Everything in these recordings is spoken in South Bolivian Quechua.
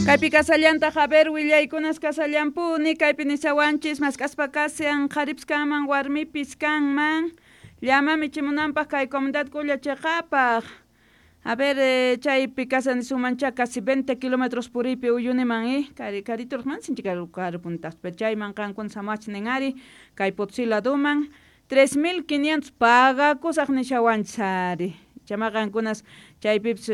Kaypi kasallantaq, a ver, willaykunas kasallampuni, kaypi nishawanchis mask'aspa kashan qharipis kanman warmipis kanman llama michimunanpaq kay comunidad Kulla chiqapaq. A ver, chaypi kashan nisunmancha casi 20 kilómetros puriypi Uyuniman, kari kariturqman sinchi karu karupunitaq, pero chayman qankuna samawachis nin ari kay Potosí laduman 3500 pagakusaq nishawanchis ari. Chama qankunas chaypipis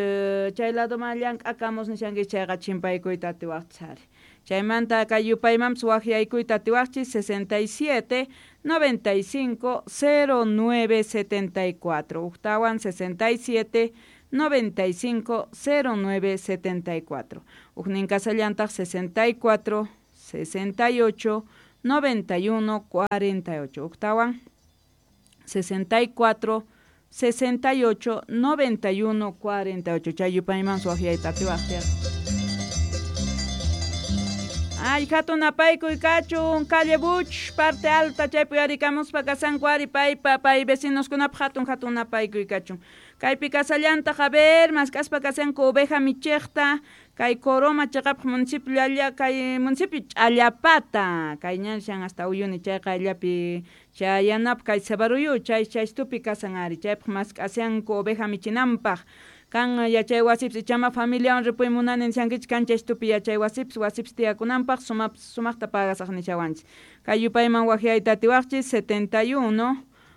chay laduman llank'akamus nishankichis chayqa chimpaykuyta atiwaqchis ari. Chaymanta kay yupaymanpis waqyaykuyta atiwaqchis 67 95 09 74, ujtawan 67 95 09 74. Ujnin kasallantaq 64 68 91 48, ujtawan 64 68 91 48. Chay yupayman waqyayta atiwaqchis. Ay, hatun apaykuy kachun, calle Buch, parte alta, chaypi uyarikamuspa kasanku ari paypa, pay vecinoskunapaq hatun hatun apaykuy kachun. Kaypi kasallantaq, a ver, mask'aspa kasanku oveja michiqta, kay Coroma chiqapaq municipio llalla, kay municipio Ch'allapata, kay ñanshan hasta Uyuni chay qayllapi chayanapaq kay Cebaruyu, chay chaystupi kasan ari, chaypaq mask'ashanku oveja michinanpaq. Kan yachay wasipis ichama familiawan ripuy munani nishankichik kan chaystupi yachay wasipis wasipis tiyakunanpaq sumaqta pagasaq nishawanchis. Kay yupayman waqyayta atiwaqchis 71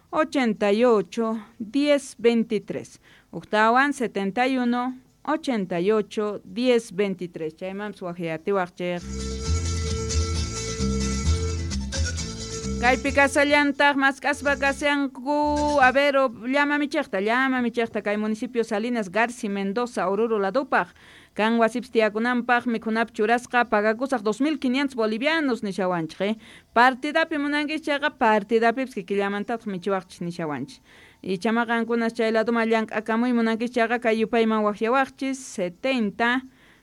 88 10 23. Ujtawan 71 88 10 23. Chaymanpis waqyay atiwaqchik. Kaypi kasallantaq mask'aspa kashanku, a ver, llama michiqta kay municipio Salinas Garci Mendoza Oruro ladupaq. Kan wasipis tiyakunanpaq mikhunapaq churasqa pagakusaq 2500 bolivianos nishawanchik. Partidapi munankichis chayqa partidapipis kikillamantataq michiwaqchis nishawanchis. Y chama qankunas chay laduman llank'akamuy munankichis chayqa kay yupayman waqyawaqchis 70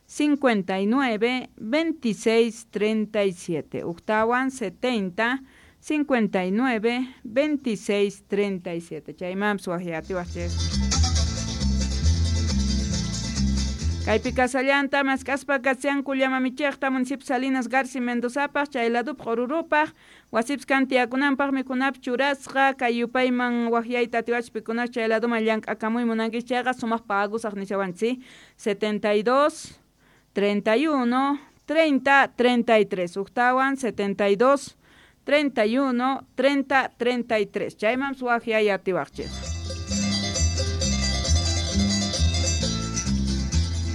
59 26 37. Ujtawan 70 59 26 37. Chaymanpis waqyatiwaqchis. Kaypi kasallanta mask'aspa kashanku llama michiqta municipio Salinas Garci Mendozapaq chay ladupaq Orurupaq wasipis kan tiyakunanpaq mikhunapaq churasqa kay yupayman waqyayta atiwachis pikunas chay laduman llank'akamuy munankichis chayqa sumaq pagusaq nishawanchis 72 31 30 33. Ujtawan 72 31 30 33. Chayman waqyay atiwaqchis.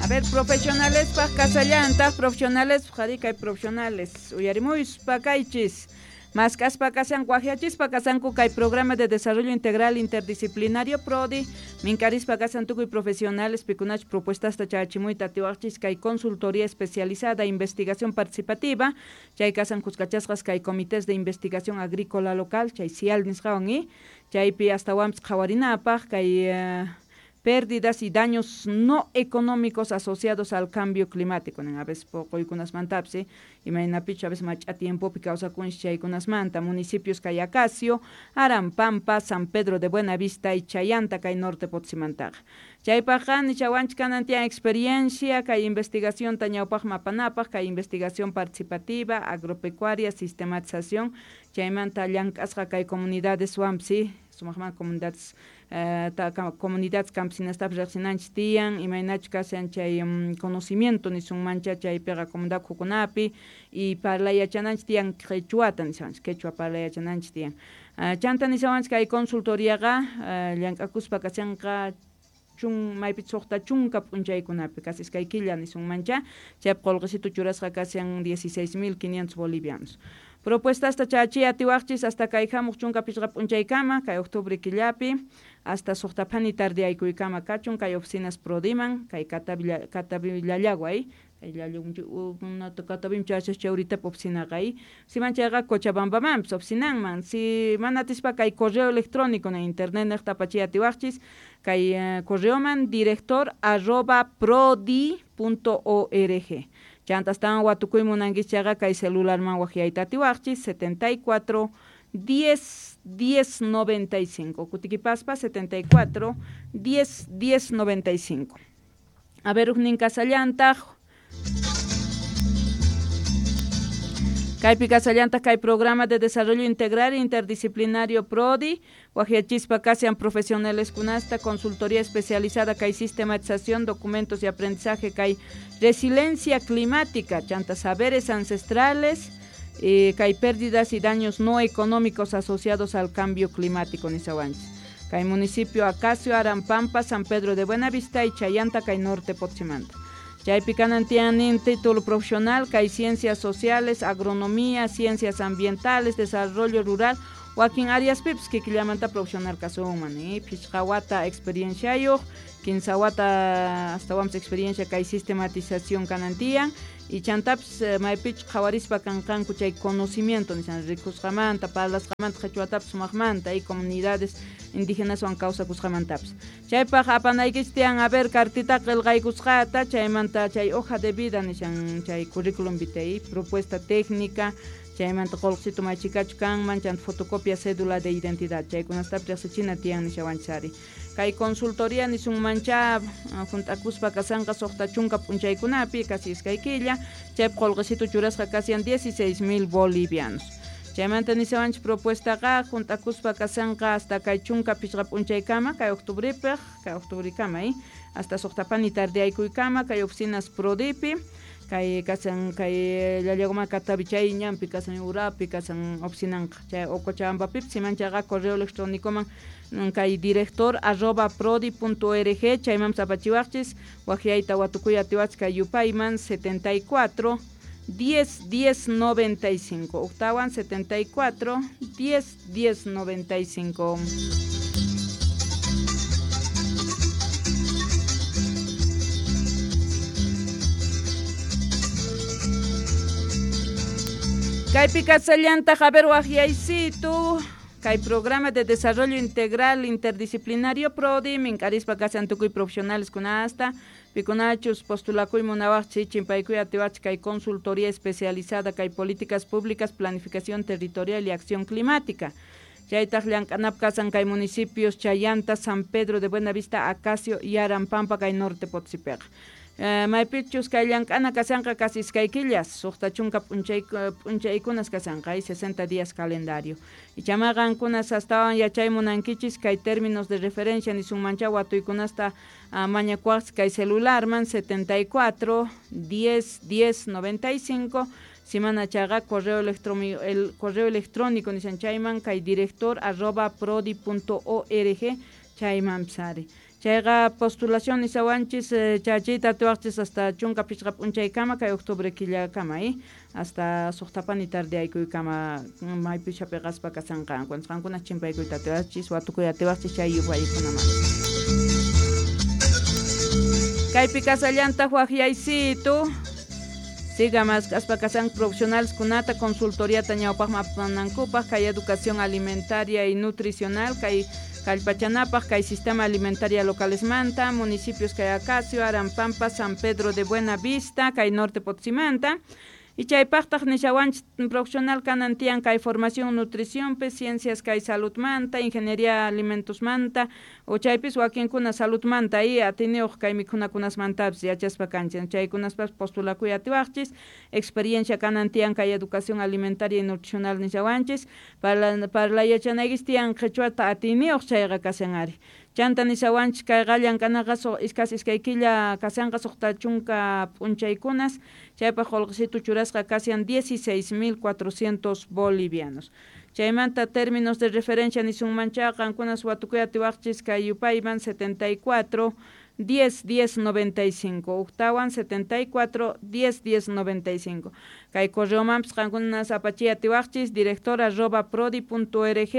A ver, profesionales paq kasallantaq, profesionales qhari kay profesionales uyarimuypa kaychis. Mask'aspa kashanku waqyachispa kasanku kay programa de desarrollo integral interdisciplinario PRODI, minkarispa kasan tukuy profesionales pikunach propuestasta chachimuyta atiwaqchis kay consultoría especializada investigación participativa, chay kasan kuskachasqas kay comités de investigación agrícola local, chay CIAL nisqawan chaypi astawanpis qhawarinapaq kay pérdidas y daños no económicos asociados al cambio climático. A veces poquykunasmantapis, imaynapichu a veces mach'a tiempopi kawsakunchis chaykunasmanta. Municipios kay Acacio, Arampampa, San Pedro de Buenavista y Chayanta kay norte Potosimantaqa. Chaypaqqa nishawanchik kanan tiyan experiencia kay investigación ñawpaqman apanapaq, kay investigación participativa, agropecuaria, sistematización, chaymanta llank'asqa kay comunidades wanpis, sumaqman comunidades comunidades campesinastapis riqsinanchis tiyan, imaynachu kashan chay conocimiento nisunmancha chaypiqa comunidad ukhukunapi y parlay yachananchis tiyan quechuata nishawanchis, quechua parlay yachananchis tiyan. Chanta nishawanchis kay consultoriaqa llank'akuspa kashanqa chun maypi suqta chunka p'unchaykunapi casi iskay killa nisunmancha, chaypi qullqisitu churasqa kashan 16.500 bolivianos. Propuestasta chachiy atiwaqchis hasta kay hamuq chunka pichqa p'unchaykama kay octubre killapi hasta suqta phani tardeaykuykama kachun kay oficinas Prodiman kay Catavi kay Catavim chachas chawritap oficinaqa siman chayqa Cochabambamanpis oficinanman si mana atispa kay correo electrónico na internet niqta apachiy atiwaqchis kay correoman director@prodi.org. Chanta astawan watukuy munankichis chayqa kay celularman waqyayta atiwaqchis 74 10 10 95. Kutikipaspa 74 10 10 95. A ver, ujnin kasallantaq. Kaypi kasallantaq kay programa de desarrollo integral interdisciplinario PRODI, wajyachispa kashan profesionales kunasta, consultoría especializada kay sistematización, documentos y aprendizaje kay resiliencia climática, chanta saberes ancestrales, kay pérdidas y daños no económicos asociados al cambio climático nisawanchis. Kay municipio Acacio, Arampampa, San Pedro de Buenavista y Chayanta kay Norte Potsimanta. Chaypi kanan tiyan título profesional, kay ciencias sociales, agronomía, ciencias ambientales, desarrollo rural, wakin áreas pips kikillamanta profesional kasunman, phishqa wata experienciayuq, 15 wata astawanpis experiencia kay sistematización kanan tiyan, y chantapis maypichus qhawarispa kanqanku chay conocimiento nishan rikusqamanta, parlasqamanta, qhichwatapis sumaqmanta y comunidades indígenaswan kawsakusqamantapis. Chaypaq apanaykichis tiyan a ver cartita qillqaykusqata, chaymanta chay hoja de vida nishan chay currículum vitae, propuesta técnica, chaymanta qullqisito maychikachu kanman, chanta fotocopia cédula de identidad, chaykunastapis riqsichina tiyan nishawanchis. Kay consultoría nisunmancha junt'akuspa kasanqa suqta chunka p'unchaykunapi casi iskay killa, chaypi qullqisito churasqa kasian 16,000 bolivianos. Chaymanta nisawanchis propuestaqa junt'akuspa kasanqa hasta kay chunka phishqa p'unchaykama, kay octubripaq, kay octubrikama, hasta suqtapani tardeaykuykama, kay oficinas Prodipi, kay kasan kay Llallagoma Catavi chay ñanpi kasan urapi kasan oficinanqa chay Cochabambapipis simanchaqa correo electrónicoman kay director @prodi.org chayman apachiwaqchis waqyayta watukuy atiwachis kay yupayman 74 10 10 95 octawan 74 10 10 95. Kaypi kasallantaq a ver waqyaysitu kay programa de desarrollo integral interdisciplinario PRODI mink'arispa kasan tukuy profesionales kunasta pikunachus postulakuy munawaqchis chimpaykuy atiwachis kay consultoría especializada kay políticas públicas, planificación territorial y acción climática. Chaytaq llank'anap kasan kay municipios Chayanta, San Pedro de Buenavista, Acacio y Arampampa kay Norte Potosipeqa. Maypichus kay llank'ana kasanqa casi iskay killas, suqta chunka p'unchaykunas kasanqa, 60 días calendario. Ichama qankunas astawan yachay munankichis kay términos de referencia nisunmancha watuykunasta mañakuwaqchis kay celularman 74 10 10 95, simana chaqa correo electrónico nishan chayman kay director @prodi.org chayman psari. Chayqa postulación nisawanchis chachita atiwaqchis hasta chunka phishqa p'unchaykama kay octubre killakama, hasta suqtapani tardeaykuykama maypi chapiqaspa kasanqanku. Qankuna chimpaykuyta atiwaqchis watukuy atiwaqchis chay yupaykunaman. Kaypi kasallantaq waqyaysitu siga mask'aspa kasan profesionales kunata consultoriata ñawpaqman apanankupaq kay educación alimentaria y nutricional kay kallpachanapaq kay sistema alimentaria localesmanta municipios kay Acacio, Arampampa, San Pedro de Buenavista, kay Norte Potsimanta. Y chaypaqtaq nishawanchis profesional kanan tiyan kay formación nutricionpi, ciencias kay saludmanta, ingeniería alimentosmanta, o chaypis wakinkuna saludmanta y atiniyuq kay mikhunakunasmantapis yachaspa kanchis. Chaykunaspas postulakuy atiwaqchis, experiencia kanan tiyan kay educación alimentaria y nutricional nishawanchis, para yachanaykis tiyan qhichwata atiniyuq chayqa kashan ari. Chanta nishawanchis kay llank'anaqa casi iskay killa kasanqa suqta chunka p'unchaykunas, chaypaq qullqisitu churasqa kasian 16,400 bolivianos. Chaymanta términos de referencia nisunmancha qankunas watukuy atiwaqchis kay yupayman 74 10 10 95 octawan 74 10 10 95 kay correomanpis qankunas apachiy atiwaqchis director @prodi.org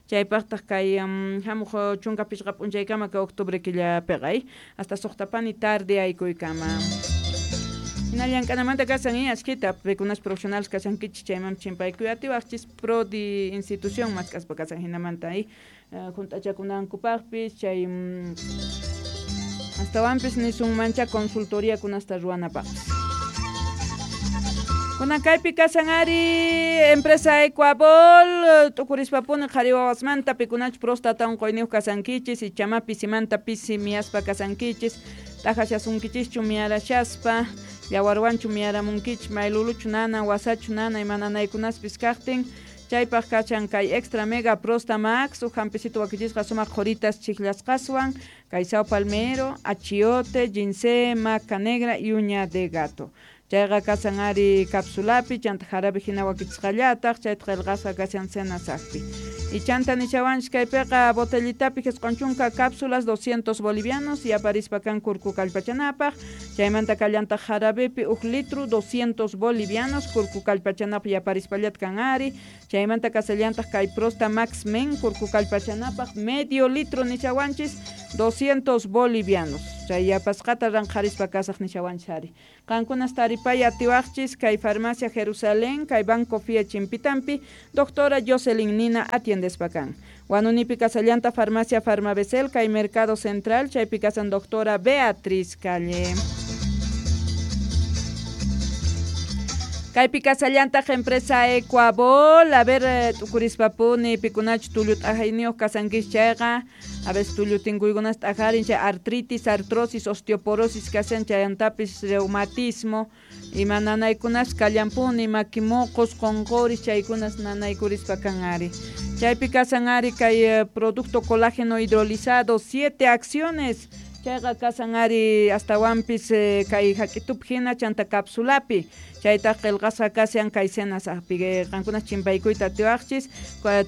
chaypaqtaq kay hamuq chunka phishqa p'unchaykama kay octubre killapiqa hasta suqtapani tarde aykuykama. Hina llank'anamanta kasan ashkita pikunas profesionales kasankichis chayman chimpaykuy atiwaqchis Prodi institución mask'aspa kasan hinamanta junt'achakunankupaqpis chay astawanpis nisunmancha consultoría kunasta ruwanapaqpis. Kunan kaypi kasan ari empresa Ecuabol t'ukurispapuni qhari wawasmanta pikunachus próstata unquyniyuq kasankichis ichama pisimanta pisi miyaspa kasankichis t'ajashasunkichishchu miyarashaspa Yawarwanchu miyaramunkichis, mayluluchu nanan, wasachu nana, ima nanaykunaspis kajtin, chaypaq kachan kay Extra Mega Prosta Max, uj hampisitu wakichisqa sumaq qhoritas chijllasqaswan, kay sao palmero, achiote, ginseng, maca negra y uña de gato. Chayqa kasan ari capsulapi, chanta jarabe hina wakichisqallataq, chayta qillqasqa kashan senasaqpi. Y chanta nishawanchis kaypiqa botellitapi jisq'un chunka cápsulas 200 bolivianos y aparispa kan kurku kallpachanapaq, chaymanta kallantaq jarabepi uj litro 200 bolivianos kurku kallpachanapaq yaparispallata kan ari, chaymanta kasallantaq kay Prosta Max Men kurku kallpachanapaq medio litro nishawanchis 200 bolivianos. Chay yapasqata ranqharispa kasaq nishawanchis ari. Qankunas taripay atiwaqchis kay Farmacia Jerusalén, kay Banco Fie Chimpitampi, doctora Jocelyn Nina atiendespa kan. Wanunipi kasallanta Farmacia Farmabesel, kay Mercado Central, chaypi kasan doctora Beatriz Calle. Kaypi kasallantaq empresa Ecuabol, a ver, t'ukurispapuni pikunachu tullu t'ajayniyuq kasankichis chayqa, a veces tullu tinkuykunas t'ajarin chay artritis, artrosis, osteoporosis kashan chayantapis reumatismo, ima nanaykunas kallanpuni, maki moqos, qonqoris, chaykunas nanaykurispa kan ari. Chaypi kasan ari kay producto colágeno hidrolizado, 7 acciones, chayqa kasan ari astawanpis kay hak'itupi hina chanta capsulapi, chaytaq qillqasqa kashan kay senasaqpi, qankunas chimpaykuyta atiwaqchis,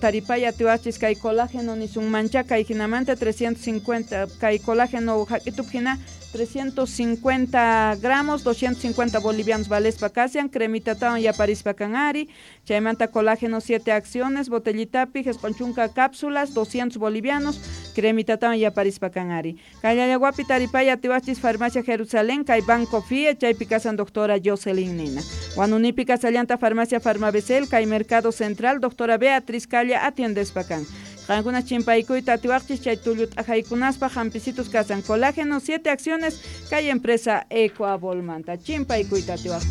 taripay atiwaqchis kay colágeno nisunmancha kay hinamanta 350, kay colágeno hak'itupi hina 350 gramos, 250 bolivianos valespa kashan, cremitatawan yaparispa kan ari, chaymanta colágeno 7 acciones, botellitapi, 90 cápsulas, 200 bolivianos, cremitatawan yaparispa kan ari. Kay Llallawapi taripay atiwachis Farmacia Jerusalén, kay Banco Fie, chaypi kasan doctora Jocelyn Nina. Wanunipi kasallanta Farmacia Farmabesel, kay Mercado Central, doctora Beatriz Calle atiendespa kan. Qankuna chimpaykuyta atiwaqchis chay tullu t'ajaykunaspa hampisitus kasan colágeno 7 acciones kay empresa Ecuabolmanta. Chimpaykuyta atiwaqchis.